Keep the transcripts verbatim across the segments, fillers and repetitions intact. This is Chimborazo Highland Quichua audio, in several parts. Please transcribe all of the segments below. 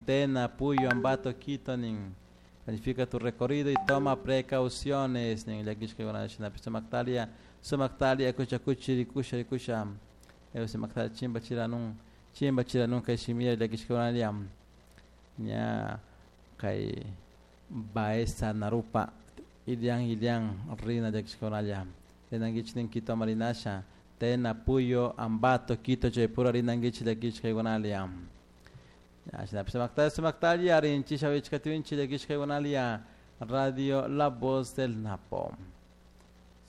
Tena, Puyo, Ambato, Quito nin. Planifica tu recorrido y toma precauciones nin. Llakishkakuna shinapish sumaktalia, sumaktalia kucha kuchi rikusha rikusha. Sumaktalia chimba chiranun, chimba chiranun kay shimira llakishkakunalia. Ña kay Baeza Narupa Ilian Ilian rina llakishkakunalla. Rinankichik nin Quito marinasha. Tena, Puyo, Ambato, Quito chaypura rinankichik llakishkaykunalia. Shinapish sumaktalia sumaktalia rinchisha wichkatiwinchik llakishkaykunalia. Radio La Voz del Napo.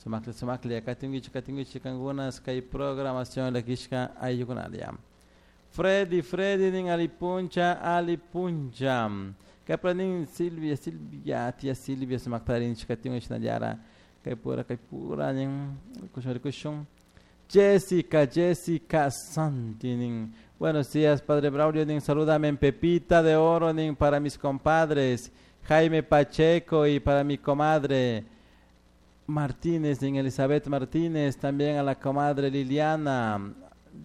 Sumakli sumakli katinkichik katinkichik kankunas kay programación llakishka ayllukunalia. Freddy, Freddy nin alipuncha, alipuncha. Kaypura nin Silvia, Silvia, tía Silvia sumakta rinchik katiwan shinallara. Kaypura, kaypura nin rikushun rikushun. Jessica, Jessica Santi nin. Buenos días, Padre Braulio nin. Salúdame en Pepita de Oro nin para mis compadres Jaime Pacheco y para mi comadre Martínez nin Elizabeth Martínez, también a la comadre Liliana,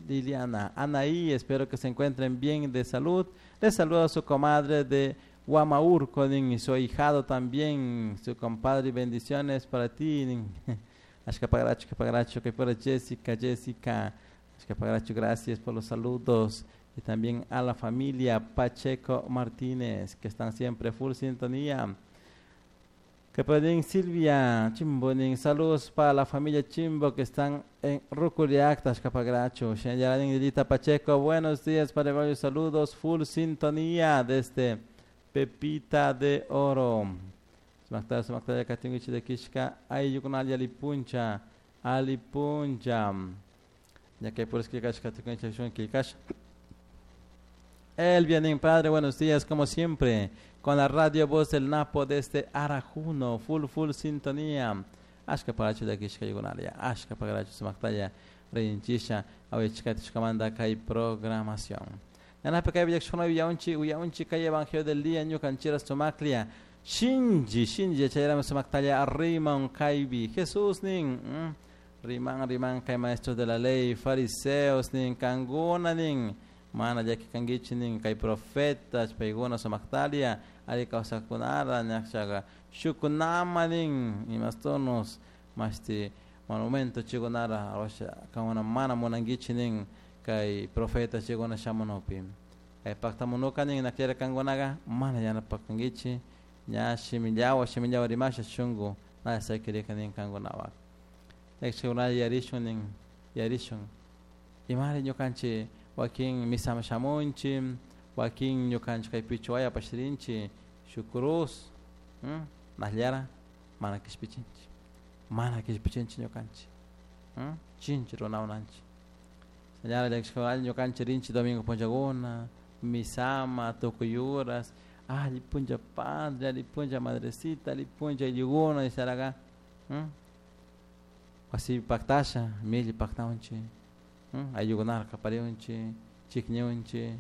Liliana Anaí, espero que se encuentren bien de salud. Les saluda a su comadre de Huamaurco nin, y su ahijado también, su compadre, y bendiciones para ti nin. Ashkapagracho, ashkapagracho, que fuera Jessica, Jessica, ashkapagracho, gracias por los saludos. Y también a la familia Pacheco Martínez, que están siempre full sintonía. Que pueden Silvia Chimbo, nin, saludos para la familia Chimbo que están en Ruculiacta, Ashkapagracho. Shenyaradin Lilita Pacheco, buenos días para varios saludos, full sintonía desde Pepita de Oro. Sumakta, sumakta, katingichi de Kishka, ayllukunalla alipuncha, alipuncha. Ya que por escribir kashka. Elvia nin padre, buenos días, como siempre, con la radio Voz del Napo desde Arajuno, full, full sintonía. Ashka paracho de Kishka yugunalia, ashka paracho sumaktaya, rinchisha, awichkatishkamanda kay programación. Nanape kay villakshuna uyaunchi, uyaunchi kay evangelio del día, ñukanchira sumaklia. Shinji, shinji, chayrama sumaktaya, riman kaybi, Jesús nin, mm, riman, riman kay maestros de la ley, fariseos nin, kanguna nin, mana llaki kankichik nin kay profetas paykuna sumaktalia alli kawsakunara ñakchaqa shukunama nin imastunos mashti monumento chikunara arwasha kankuna mana munankichik nin kay profeta chikuna shamunupi kay paktamunuka nin nakllari kankunaka mana yanapakankichik ña shimillawa shimillawa rimasha shunku na sakirika nin kankunapak llakishkakunalla yarishun nin yarishun imari ñukanchik wakin misama shamunchik wakin ñukanchik kay pichuwayapash rinchik shuk cruz mm, nakllara mana kishpichinchik mana kishpichinchik ñukanchik mm, chinchi runawananchik señora llakishkakunalla ñukanchik rinchik domingo punllakuna misama tukuy horas alli punlla padre, alli punlla madrecita, alli punlla ayllukuna nisharaka mm, wasipi paktasha milli paktawanchik mm, ayllukunata kapariwanchik chikñunchik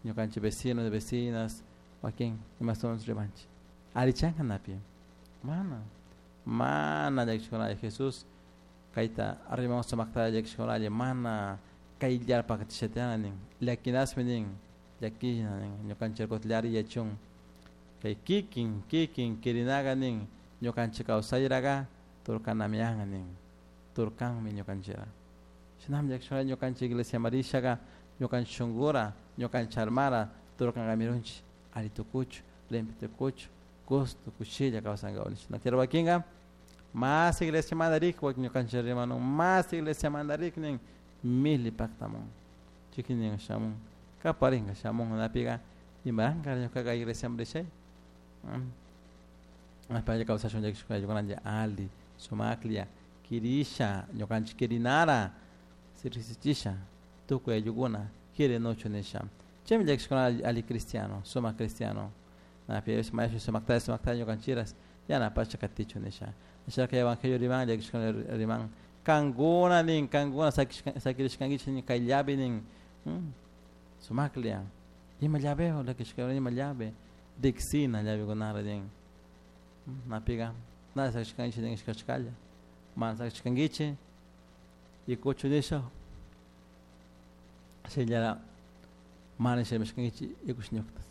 ñukanchik vecinos, vecinas wakin imastunchik rimanchik allichanka napi mana mana llakishkunalla Jesús kayta riman sumakta llakishkunalla mana kayllarpak tishatiyana nin llakinasmi nin llakishna nin ñukanchik llari yachun kay kikin kikin kirinaga nin ñukanchik kawsayraga turkanamiyan nin turkanmi ñukanchikra shinami llakishkunalla ñukanchik iglesia marishaga ñukanchik shunkura ñukanchik almara turkankamirunchik alli tukuchu limpio tukuchu gusto kushilla kawsankapak nish nakllari wakinka mas iglesia mandarik wakin ñukanchik rimanun mas iglesia mandarik nin mili paktamun chikinin shamun kaparinka shamun napika imaranka ñukaka iglesia rishay ashpa kawsashun llakishkunalla alli sumaklla kirisha ñukanchik kirinara riksichisha tukuy ayllukuna kirinuchu nisha chaymi llakishkunalla alli cristiano sumak cristiano napi maestro sumaktalla sumaktalla ñukanchiras yanapasha katichu nisha nishaka evangelio riman llakishkunalla riman kankuna nin kankuna sakirishkankichik nin kay llave nin sumaklla ima llaveo llakishkuna ima llave riksina llavekunara nin napika na sakishkankichik nin ishkashkalla mana sakishkankichik ikuchu nisha shinallara mana rimashkankichik ikush ñuktas.